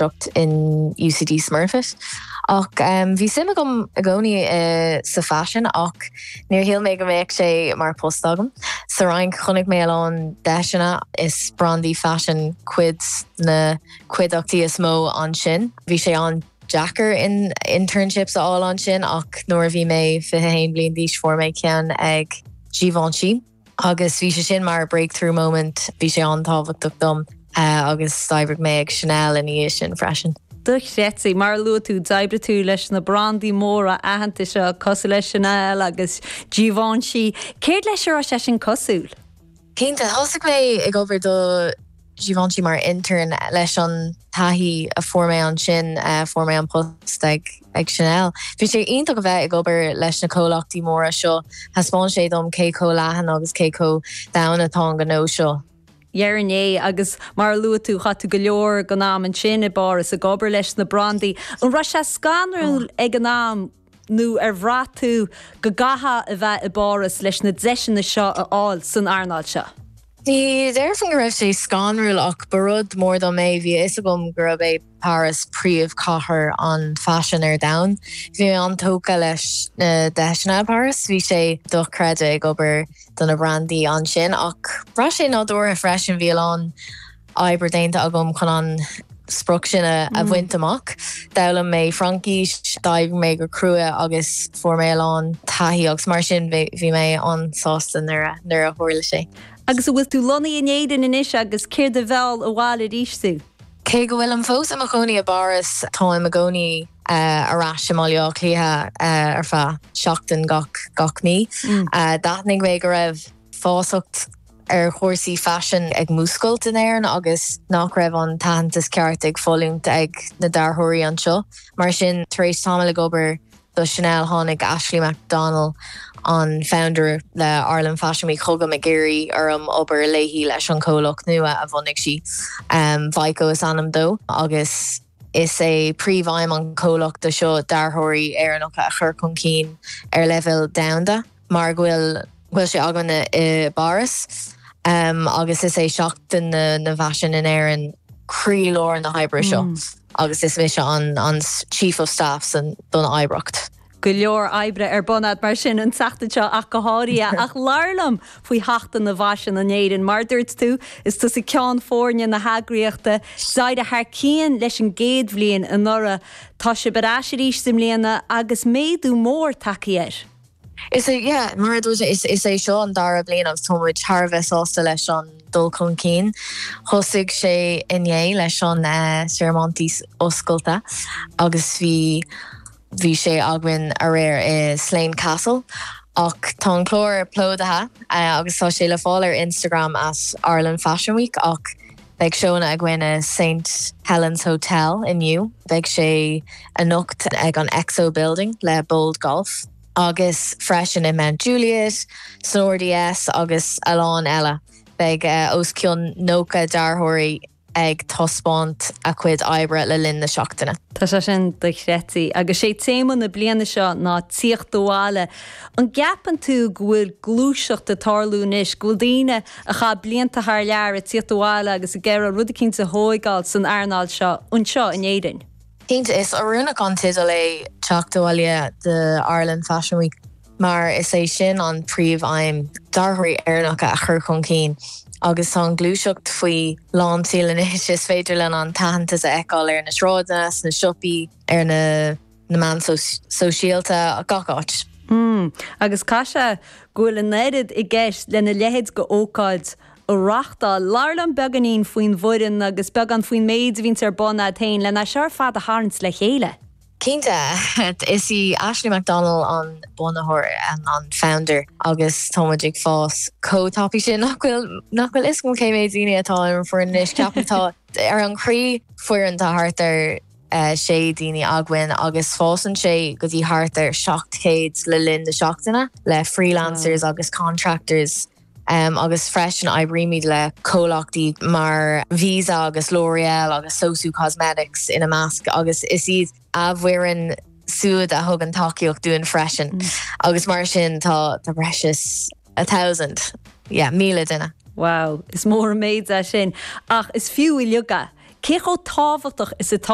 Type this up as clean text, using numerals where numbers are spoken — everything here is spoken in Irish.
Máistreacht in UCD Smurfit. Ach bhí suim agam i gcónaí sa faisean ach níor shíl mé go mbeadh sé mar post agam. Sa Fhrainc chonaic mé a lán deiseanna, is brandaí faisin cuid na cuideachtaí is mó ansin. Bhí sé an-deacair internships a fháil ansin ach nuair a bhí mé 21 bliain d'aois fuair mé ceann ag Givenchy. Agus bhí sé sin mar breakthrough moment, bhí sé an-tábhachtach dom agus d'oibrigh mé ag Chanel ina dhiaidh sin freisin. Dochreidte. Mar a luaigh tú, d'oibrigh tú leis na brandaí móra aitheanta seo cosúil le Chanel agus Givenchy. Céard leis a raibh sé sin cosúil? Cinnte, thosaigh mé ag obair do Givenchy mar intern leis an taithí a fuair mé ansin, fuair mé an post ag ag Chanel. Bhí sé iontach a bheith ag obair leis na comhlachtaí móra seo, thaispeáin sé dom cé chomh leathan agus cé chomh domhain atá an gnó seo. Dhéarfainn é, agus mar a luaigh tú, chaith tú go leor den am ansin i bPáras ag obair leis na brandaí. An raibh sé scanrúil ag an am nó ar bhraith tú go gcaithfeá a bheith i bPáras leis na deiseanna seo a fháil san earnáil seo? Ní déarfainn go raibh sé scanrúil ach ba rud mór dom é, bhí a fhios agam gurb é Páras príomhchathair an faisin ar domhan. Bhí mé an-tógtha leis na deiseanna i bPáras, bhí sé dochreidte ag obair do na brandaí ansin ach bhraith sé nádúrtha freisin, bhí a lán oibre déanta agam chun an sprioc sin a bhaint amach. D'fhoghlaim mé Fraincis, d'oibrigh mé go crua agus fuair mé a lán taithí agus mar sin bhí mé an-sásta nuair a tharla sé. Agus an bhfuil tú lonnaithe in Éirinn anois agus céard a mheall abhaile arís tú? Cé go bhfuilim fós i mo chónaí i bPáras, táim i gcónaí ar ais i mBaile Átha Cliath ar feadh seachtain gach gach mí. D'aithnigh mé go raibh feasacht ar chúrsaí faisin ag múscailt in Éirinn agus nach raibh an t-aitheantas ceart ag foluaint ag na dearthóirí anseo. Mar sin, tar éis tamall ag obair do Chanel, tháinig Ashley McDonnell, an founder le Ireland Fashion Week, chugam ag iarraidh orm obair léi leis an chomhlacht nua a bhunaigh sí. Vico is ainm dó agus is é príomhaidhm an chomhlachta seo dearthóirí Éireannacha a chur chun cinn ar leibhéal domhanda. mar go bhfuil bhfuil sé againn i bPáras agus is é Seachtain na bhFaisean in Éirinn croílár na hoibre seo agus is mise an an Chief of Staff san don oibreacht. Go leor oibre ar bun agat mar sin an tseachtain seo ach go háirithe. Ach labhair liom faoi Sheachtain na bhFaisean in Éirinn. Mar a dúirt tú, is tusa ceann foirne na heagraíochta. D'éirigh thar cionn leis an gcéad bhliain anuraidh. Tá sibh ar ais arís i mbliana agus méadú mór tagtha air. Is é, yeah, mar a dúirt mé, is é seo an dara bliain agus tá muid thar a bheith sásta leis an dul chun cinn. Thosaigh sé inné leis an searmantas oscailte agus bhí bhí sé againn aréir i Slane Castle. Ach tá an clár plódaithe agus tá sé le fáil ar Instagram at Ireland Fashion Week ach beidh seónna againn i St Helen's Hotel inniu, beidh sé anocht ag an Exo Building le Bold Golf agus freisin i Mount Juliet, san RDS agus a lán eile. Beidh os cionn 90 dearthóirí ag taispeáint a cuid oibre le linn na seachtaine. Tá sé sin dochreidte. Agus sé téama na bliana seo ná tíocht abhaile. An gceapann tú go bhfuil gluaiseacht ag tarlú anois, go bhfuil daoine a chaith blianta thar lear ag tíocht abhaile agus ag iarraidh rud eicínt a thóigeáil san earnáil seo anseo in Éirinn? Cinnte, is oiriúnach an teideal é Teacht Abhaile do Ireland Fashion Week mar is é sin an príomh-aidhm, dearthóirí Éireannacha a chur chun cinn agus tá an ghluaiseacht faoi lán tseoil anois. Is féidir linn an t-aitheantas a fheiceáil ar na sráideanna, sna siopaí, ar na na meáin sóisialta, gach áit. Mm. Agus caithfidh sé go bhfuil an oiread i gceist lena leithéid de ócáid a reachtáil. Labhair liom beagáinín faoin bhfoireann agus beagán faoin méid a bhíonns ar bun a'd féin lena seo ar fad a tharraingt le chéile. Cinnte. Is í Ashley McDonnell an bunaitheoir, an founder, agus tá muid ag fás chomh tapaidh sin nach bhfuil nach bhfuil fhios agam cé mhéad daoine atá ar an bhfoireann anois. Ceapaim tá ar an chroí foireann tá thart ar 6 daoine againn agus fásann sé go dtí thart ar 700 le linn na seachtaine le freelancers agus contractors agus freisin oibrímid le comhlachtaí mar Visa agus L'Oreal agus Sosu Cosmetics ina measc agus is iad a bhfoireann siúd a thugann tacaíocht dúinn freisin agus mar sin tá breis is a thousand, yeah, 1,000 duine. Wow, is mór an méid é sin ach is fiú uilig é. Cé chomh tábhachtach is atá.